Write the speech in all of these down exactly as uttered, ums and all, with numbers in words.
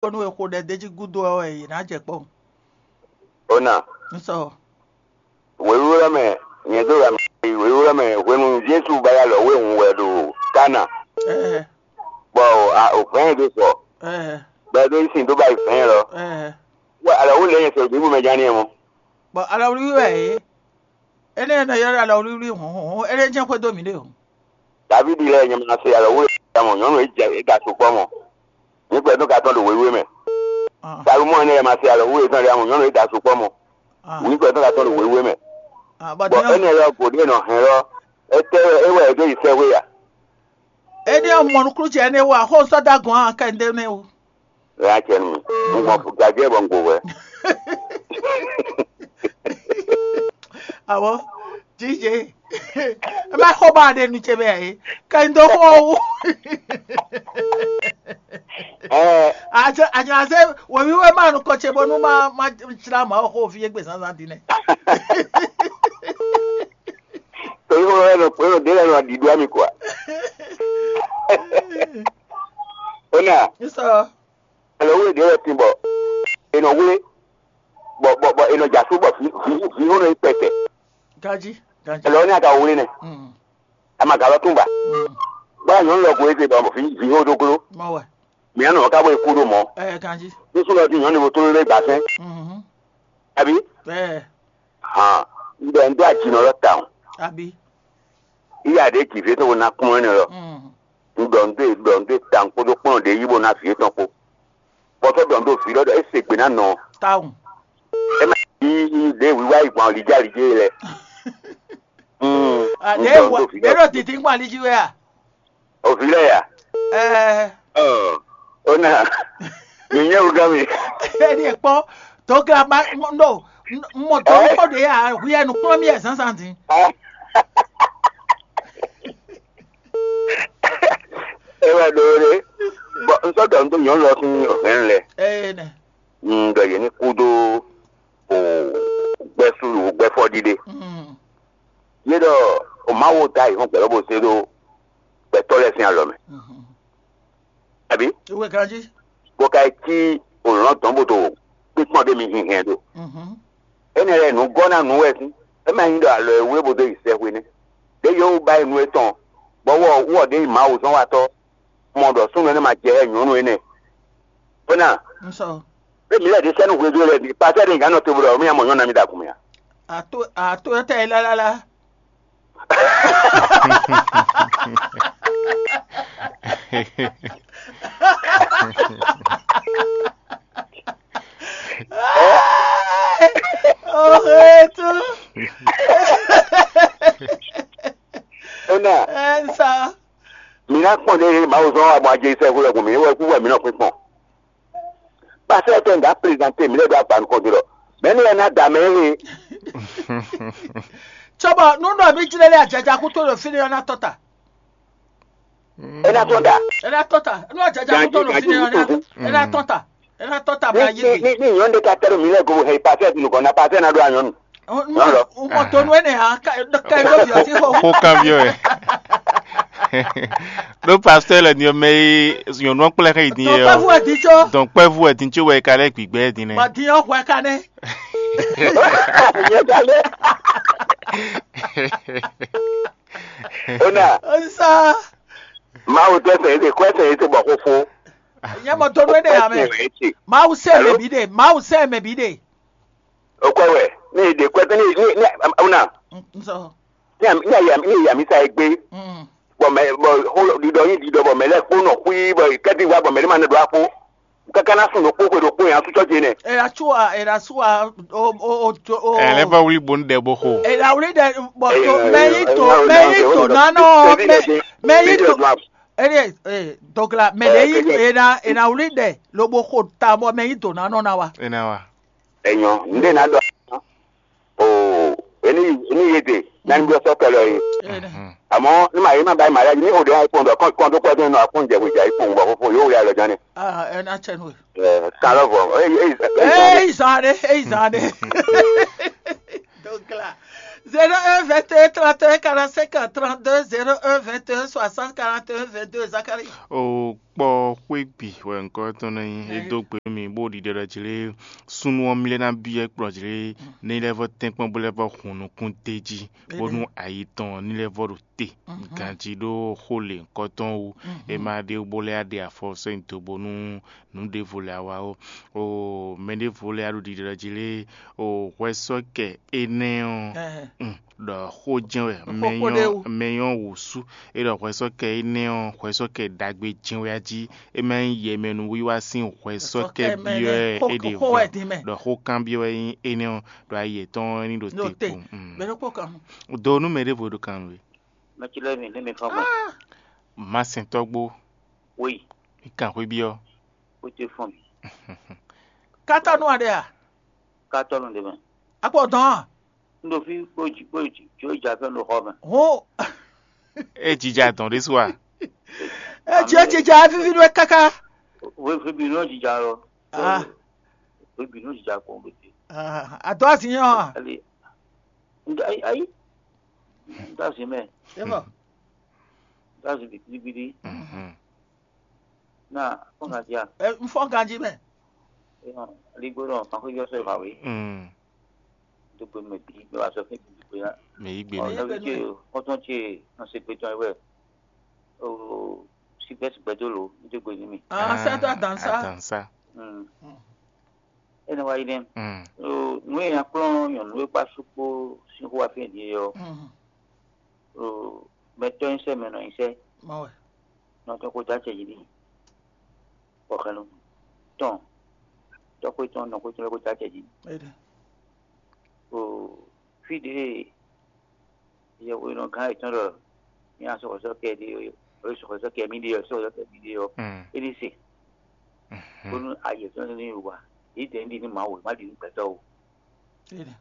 kpɔ́n nú e xo ɖɛ d'é jí gúdo ɔ́ wɛ yě ná jɛ kpɔ́n. Ona. Un sɔ. Wěwúrɔ mɛ nyɛ dó wɛ mɛ wěwúrɔ mɛ hwenu Jesu ba ya lɔ wé hun wɛ ɖo Kana. Ɛɛ Bɔ o vɛn do sɔ ɛɛ bɔ do sin do ba yi vɛn lɔ. ɛɛ. Wɛ alɔ wo lɛ nyɛ sɔ gbígbó mɛ jani mɔ. Bɔn alɔwlíwlí wɛ é. Énɛ́ e nɔ ylɔ́ ɖɔ alɔwlíwlí hɔn hɔn é lɛ́ jɛ́n xwedó mǐ ɖe o. Davidi lɛ nyɛ ma se alɔ wo ya mɔ nyɔnu e jɛ e ga sukpɔ mɔ. Ní gbɛ tó ka tɔn ɖo wéwé mɛ. Ah, Salomɔ ne yɛ ma se alɔ wo e tɔn ɖe amɔ nyɔnu e da sukpɔ mɔ. ah, Ní gbɛ tó ka tɔn ɖo wéwé mɛ. ah, bɔn Bɔn dín énɛ́ lɔ gǒ ɖé nɔ hɛn lɔ. Étɛ́ wɛ é wɛ é dó yi sɛ́xwé ya. Énɛ́ ɔ́ mɔ nukúnnú ce énɛ́ wú a xó sɔ́ dó agɔn a kɛ ndé nɛ́ wú. Ɛ á cɛ nú mi. Un gbɔn gajɛ bɔ un gbo hwɛ. Awɔ, jije. Ɛ má xɔ ba ɖe nu ce bɛ yɛ. Kɛ n dó xɔ wú. Ɛɛ Àjọ àjọ àṣẹ wòmí wẹ́ máa nu kọ ce bónú máa máa jìlá màá xó fi égbè zánzán dín nɛ. Torí wọn lọ pé wọn délẹ̀ lọ dìdú àmì kọ́. Ó nà N sọ. Alo wúlò ɖě wɛ tin bɔ è nɔ wlé bɔ bɔ bɔ è nɔ dza sú bɔ vǐ vǐ vǐ hó nɔ yi pɛtɛ. Ganji ganji. Alo ní a ka wlé nɛ Mm, a ma ka lɔ tún ba. mm, Bɔ nyɔ̌nu lɔ ko eze bɔ vǐ vǐ hó dó gló. Mɔ wɛ. Mǐ nɔ ká bɔ é kú ɖo mɔ̌. Ɛ ganji. Ní súnmọ́ bí nyɔ̌nu bo tló lé gbafɛn. Mhm. Àbí? Ɛ Hàn. Ń bɛ ń dó àjìnà lɔ tawun. Àbí. Yíyá ɖě jǐ fé tó vo ná kplɔ́n énɛ́ lɔ. Mm. Un ɖɔ nǔ dó e ɖɔ nǔ dó e tawun kpódó kplɔ́n ɖě yí bó ná vǐ étɔn kpó. Bɔ sɔ́ ɖɔ nǔ dó vǐ lɔ ɖɔ é se gbe ná nɔ. Tawun. É má yí ɖě wíwá yi gbɔn alǐjálíjé lɛ. Mm, un Àdé ɖɔ nǔ wà dó vǐ bẹ́ẹ̀ lɔ. ló ti dín gbọ́n alíjí wẹ́ à. O vǐ lɛ ya. Ɛ Ɔ, ó nà. Mi nyɛ wú gán mi. Ɛni ẹ̀ kpọ́ tó gla ma no mɔ tó kpọ́ de yà hwiɛ nu kplɔ́n mi yɛ zánzán dín. É wɛ ɖó ɖé. Bɔn un sɔ́ ɖɔ nǔ dó nyɔ̌nu lɔ sín hɛn lɛ. Ɛɛ nɛ. Un ɖɔ yě ní kú dó o gbɛ́ sú o gbɛ́ fɔ ɖiɖe. Mm, Yé ɖɔ o Mawu ta yi hɔn gbɛ̌ lɔ bó zé ɖó gbɛtɔ́ lɛ́ɛ sín alɔ mɛ. mhm. Àbí? Ìwé ganjí. Bó ka yi cí òlɔ́n dɔn bó dó kpínkpɔ́n ɖé mi hinhɛn ɖo. Mhm. Énɛ́ lɛ́ɛ nǔ gɔ́ ná nǔ wɛ sín. É má nyí ɖɔ alɔ e wú é bó dó yi sɛ́xwé nɛ́. Ɖě yǒ wú báyìí nú étɔn, bɔ wɔ wɔ ɖě yi Mawu zɔ́n watɔ́, mɔ ɖɔ súnnu énɛ́ ma jɛ hɛ nyɔ̌nu énɛ́. Bó ná, N sɔ. é mǐ lɛ́ ɖě sɛ́ nú hwedó lɛ́ɛ, pasɛ́ ɖé gǎn nɔ te bó ɖɔ mí mɔ nyɔ̌nu ná mì ɖo agun mɛ a? Ato ato tɛ yi lálálá. Ohetu. Ó ná, Ɛ n sa. mǐ ná kpɔn ɖě Mawu zɔ́n wa bɔ ajé sɛ́ hwelɛ́kun mǐ wɛ kú wɛ mǐ nɔ kpínkpɔn. Pasɛ́ tɛ ŋgá prezanté mǐ lɛ́ ɖo agba nukɔn din ɖɔ mɛ̌ nú wɛ ná da mɛ éwe? Cɔbɔ nú ɖɔ mí jlɛ́ lé ajaja kútó ɖo fínɛ́ ɔ́ ná tɔ́ ta. É ná tɔ́n da. É ná tɔ́ ta. Nú ajaja kútó ɖo fínɛ́ ɔ́ ná é ná tɔ́ ta. É ná tɔ́ ta bla Ní yé ní ní ní nyɔ̌nu ɖé ka tɛ́ ɖo mǐ lɛ́ go hɛ pasɛ́ nukɔn ná pasɛ́ ná ɖó anyɔ́nu. Nyɔ̌nu lɔ. Mɔ tó nú énɛ́ ǎ ká ká ɖó viɔ tí xɔ. Xó kanbyɔ́ wɛ. Ɖó pasteur lɛ din ɔ́ mɛ e nyɔ̌nu ɔ́ kplá xá yi din Tó é pɛ́ fún ɔ́. ɛ dín tsó. Dɔn kpɛ́vú wɛ din tso wɛ ka lɛ́ gbigbɛ din Bɔ nɛ. dín ɔ́ hwɛ ká nɛ́. Ó ná, Ó sá. Mawu tɛ sɛ ete kɔ sɛ ete bɔ xó fó. Nyɛ mɔ tó nú énɛ́ ǎ mɛ. Ete. Mawu sɛ mɛ Alo? bí ɖe. Mawu sɛ mɛ bí ɖe. O kɔ wɛ, ní ìdè kɔ ní ní ní ó ná, N sɔ. ní àmì ní àyà ní ìyà mi sa egbe. Mm. Bɔ mɛ bɔ xó ɖiɖɔ yín ɖiɖɔ bɔ mɛ lɛ kpó nɔ xwí bɔ kɛ́tí wá bɔ mɛ ní ma nɛ ɖó akpó. Káká ná sùn ɖokpó xwe ɖokpó yẹn asú tsɔ́ ce nɛ. Era tsua era tsua o o o o. Ɛ lɛ va wlí bo nu ɖɛ bo xo. Era wuli ɖe bɔ to Ɛ, mɛ yi ɛ, to ɛ, mɛ yi ɛ, to ɛ, nanɔ ɛ, mɛ ɛ, mɛ yi ɛ, to ɛ, ere ee dɔgla mɛ Ɛ, de yi ɛ, ɛ. era era wuli ɖe lobo xo ta bɔ mɛ yi to nanɔ na wa. Ena wa. Enyɔ, nde na dɔ. O, eni eni yete, nani bi sɔ kɛlɛ ye. Ene. Àmọ́ ní màá yé má báyìí màá yá ní òde àìpọ̀n dọ̀ kọ́ńtò pẹ́ tó nínú àpọ̀n jẹ̀wé jà ìpọ̀n bọ̀ fúnfún yóò rí àlọ́ jánì. Ah, ena tsɛnu. Ẹ kálọ̀ bọ̀ ẹ ẹ ẹ Ee izan de ee izan de. Donc là, zéro un vingt et un trente et un quarante-cinq trente-deux, zéro un vingt et un soixante quarante et un vingt-deux, Zachary. O kpɔ́ xwé bǐ wɛ nyǐkɔ tɔn nɔ nyí. É dó gbe nú mì bó ɖiɖe ɖɔ jlé súnnu ɔ́ mlɛ́ ná byɔ́ kplɔ́ jlé ní lɛ́ vɔ́ tɛ́nkpɔ́n bó lɛ́ vɔ́ hun nukún d'é jí, bónú ayi tɔn ní lɛ́ vɔ́ ɖo te ganjí ɖó xó lěhunkɔtɔn wú. É má ɖe bó lɛ́ ɖe afɔ sɛ́n dó bónú nǔ ɖěvo lɛ́ wá ó. O mɛ ɖěvo lɛ́ ɖo ɖiɖe ɖɔ jlé o hwɛsɔ́kɛ énɛ́ ɔ́ ɖɔ xó jɛ́n wɛ mɛ nyɔ́ wǔsú. É ɖɔ hwɛsɔ́kɛ énɛ́ ɔ́ hwɛsɔ́kɛ ɖagbe jɛ́n wɛ jí. É má nyí yɛmɛnúwiwa sín hwɛsɔ́kɛ byɔ́ wɛ é ɖe hwɛ ɖɔ xó kanbyɔ́ wɛ nyí énɛ́ ɔ́ ɖɔ ayi yětɔn ɔ́ ní ɖo te kpowun. Mɛ ɖokpó kan. Do nú mɛ ɖěvo ɖo kan nú we. Mɛtsilɛ́mi ní mi fɔ́n gbɔn. Masɛntɔ́gbó. Wéyi. Mi kan xwé byɔ́. Ó te fɔ́n mi. Kátɔ́nú aɖe a? Kátɔ́nú ɖe mɛ. Akpɔ dɔn a? N ɖo fí bó jì bó jì jó jà fɛn ɖo xɔ mɛ. Hó. É jija dɔn ɖésú a? É jì é jija é víví nú é káká. Wéfé bi nɔ jija lɔ. Ah. Wéfé bi nɔ jija kpɔn bó te. Ah, adó azin yɔ a? Ali. N da ayi. N da azin mɛ. É bɔ. N da azin bi gbidi. Mhm. Na fɔn ka dia. Ɛ n fɔn ganji mɛ. Ɛ hɔn, ligbo dɔn kan xo yɔ sɛ va we. Mm. Do gbe mɛ bi mɛ wa sɔ fún bi gbe na. Mɛ yi gbe Ɔ, mi. Nɔvi ce, kɔntɔn ce, nɔ se gbe tɔn wɛ. O, si bɛ si gbɛ do lo, n do gbe ni mi. Ah, sɛ do adan sa. Adan sa. Mm. Mm. Ene wa yi nɛ. Mm. O, nu e nya kplɔn nyɔnu e kpa sukpo sin xo wa fi di yɔ. Mm. O, mɛ tɔ yin sɛ mɛ nɔ yin sɛ. Mawe. Nɔ tɔ ko da cɛ yi ni. Bɔ xɛnu tɔn tɔxwé tɔn nɔxwé tɔn lɛ́ɛ ko dó acɛ jí. Éɖe. O fí ɖě yɛhweɖɔgán yětɔn ɖɔ mí asɔxɔsɔ́ kɛ ɖé ɔ́, sɔxɔsɔ́ kɛ mí ɖé ɔ́, sɔxɔsɔ́ kɛ mí ɖé ɔ́, Mm. É ní se. Mhm. Bónú ayǐ yětɔn ní wa. Yě dɛ̌ ní ɖi nú Mawu, má ɖi nú gbɛtɔ́ o. Éɖe.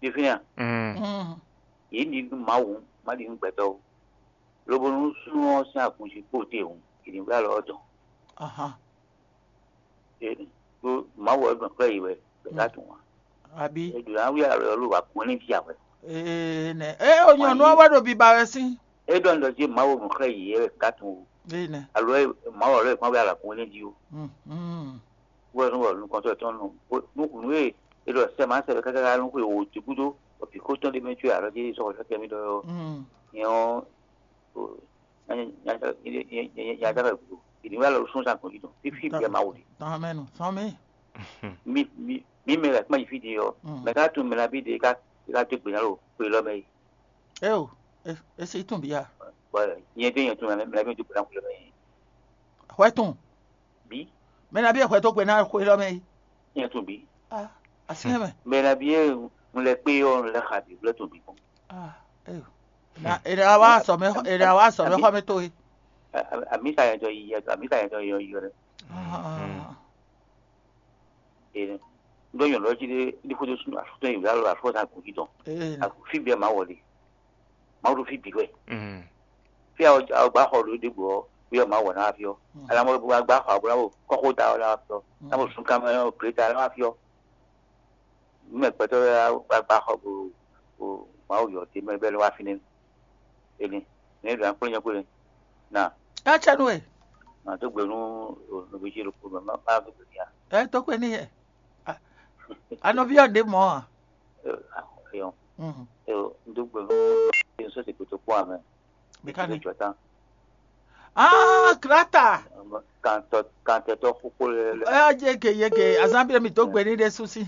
Ɖi fínɛ́ a? Mm. Mm. Yě ní ɖi nú Mawu, má ɖi nú gbɛtɔ́ o. Lobo nú súnnu ɔ́ sín agun jí kpo te hǔn, è ní wlá lɔ ɔ́ dɔn. Ahan. Ɖó Mawu ɔ́ gbɔn xlɛ́ yě wɛ, bɔ é ka tunwun ǎ. Abí. È ɖǒ ná wí alɔ ɔ́ ló wǎ kún ní ví ǎ wɛ. Ee nɛ. Ée o nyɔ̌nu ɔ́ wɛ ɖo biba wɛ sín. É ɖɔ nǔ ɖɔ jí Mawu gbɔn xlɛ́ yě wɛ ká tunwun o. Ee nɛ. Alo Mawu ɔ́ lɛ́ kún wí alɔ kún ní jí o. Mm, mm. Wɛ nú wɔ nukɔntɔ́ tɔn nɔ nú nú e è ɖɔ sɛ ma sɛ káká nú xwe wò jí gúdo, bɔ vǐ xótɔn ɖé mɛ có alɔ jí sɔ́ xɔ sɛ́ mì ɖɔ ɔ́. Mm. Nyɛ ɔ́, nya ɖaxɛ gúdo. Ìdí wɛ lɔ sún sa gbɔn jí tɔn. Fífí bɛ́ Mawu ɖe. Tɔn mɛ nu, sɔn mi. Mi mi mi mɛ la kpɛ́n yi fí di ɔ́. Mm. Mɛ ká tún mɛ la bí de ká ká dó gbe ná lo xwe lɔ mɛ yi. Eo, e e si tún bia. Bɔ nyɛ dé nyɛ tún mɛ la bí dó gbe ná xwe lɔ mɛ yi. Hwɛ tún. Bí Mɛ na bí e hwɛ dó gbe ná xwe lɔ mɛ yi. Nyɛ tún bí. Ah, asi mɛ. Mɛ la bí e un lɛ kpé ɔ́ un lɛ xa bí vlɛ tún bí kpɔn. Ah, eo. Na e na wa sɔ mɛ e na wa sɔ mɛ xɔ mɛ to yi. Ami sa yɛ dɔ yi yɛ ami sa yɛ dɔ yɔ yɔ dɛ. Ah. Ene. Ndo nyɔnu ɔ́ jí ɖé ní xódó súnnu afúntɔ́ yi wǔlá lɔ afúntɔ́ agun jí tɔn. Ee. Agun fí bɛ́ Mawu ɔ́ ɖe. Mawu ɖo fí bǐ wɛ. Mm. Fí a gbá xɔ ɖo ɖěbǔ ɔ́, wíyɔ Mawu wɛ ná wá fí ɔ́. Mm. Ala mɔ bó wá gbá xɔ bó ná bó kɔ́xóta ɔ́ ná wá fí ɔ́. Mm. Ná bó sun kamɛ ɔ́, gbleta ná wá fí ɔ́. Nú mɛ gbɛtɔ́ lɛ́ɛ wá gbá xɔ bó bó Mawu yɔ te mɛ bɛ́ lɛ́ wá fínɛ́. Ene. Nɛ̌ ɖo akplɔ́ nyɛ xwé na. Acɛ nú we. Nà dó gbe nú nɔví ce ɖokpó mɛ má má dó gbe n'i a. Ɛ tó kwe n'i yɛ. Anɔví ɔ́ ɖě mɔ̌ a? Ɛyɔ. Mhm. Ɛyɔ, n dó gbe nú n sɔ́ se kpotó kpɔ́n amɛ. Mɛkánì. Jɔta. Ah, Krata. Kantɔ kantɛtɔ xóxó lɛ lɛ. Ɛ yege yege azán bí mi dó gbe ní ɖé súsí.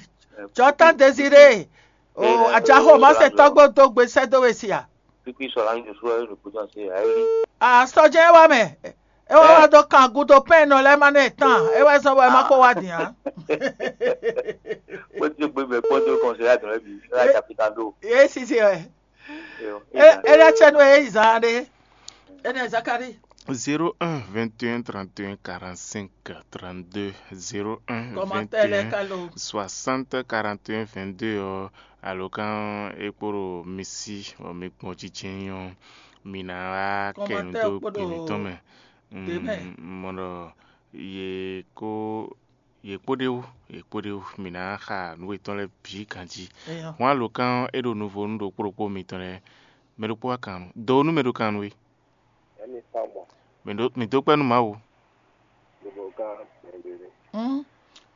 Jɔta Désiré. O ajaxo má se tɔgbo dó gbe sɛ́ dó we sia. Kpikpi sɔ la yi sɔ yi ɖo kpotɔ se ayi. Ah, sɔjɛ wa mɛ. E wa wa dó kan gudo pɛn nɔ lɛ ma ne tan. E wa sɔ bɔ e ma ko wa dian. Kpɔtɔ gbe mɛ kpɔtɔ kɔnsɛ ya dɔn bi la ja fi kan do. Ye sisi wɛ. Yo. E e la cɛ no e zan de. E ne Zakari. Zéro un vingt et un trente et un quarante-cinq trente-deux. Zéro un Commentaire lɛ vingt et un kalo. Soixante quarante et un vingt-deux ɔ. Alɔkan e kpo ɖo mi sí bɔ mi kpɔn jijɛ nyɔ mi ná wá kɛ nu dó gbe mǐtɔn mɛ. Mɔ ɖɔ yě kó yě kpó ɖé wú yě kpó ɖé wú mi ná xa nǔ yětɔn lɛ́ɛ bǐ ganjí. Hɔn alɔkan e ɖo nuvo nú ɖokpó ɖokpó mitɔn lɛ́ɛ mɛ ɖokpó wá kan nú do nú mɛ ɖo kan nú we. Mǐ dó kpɛ́ nú Mawu. ká mɛɖé nɛ́. Hmm.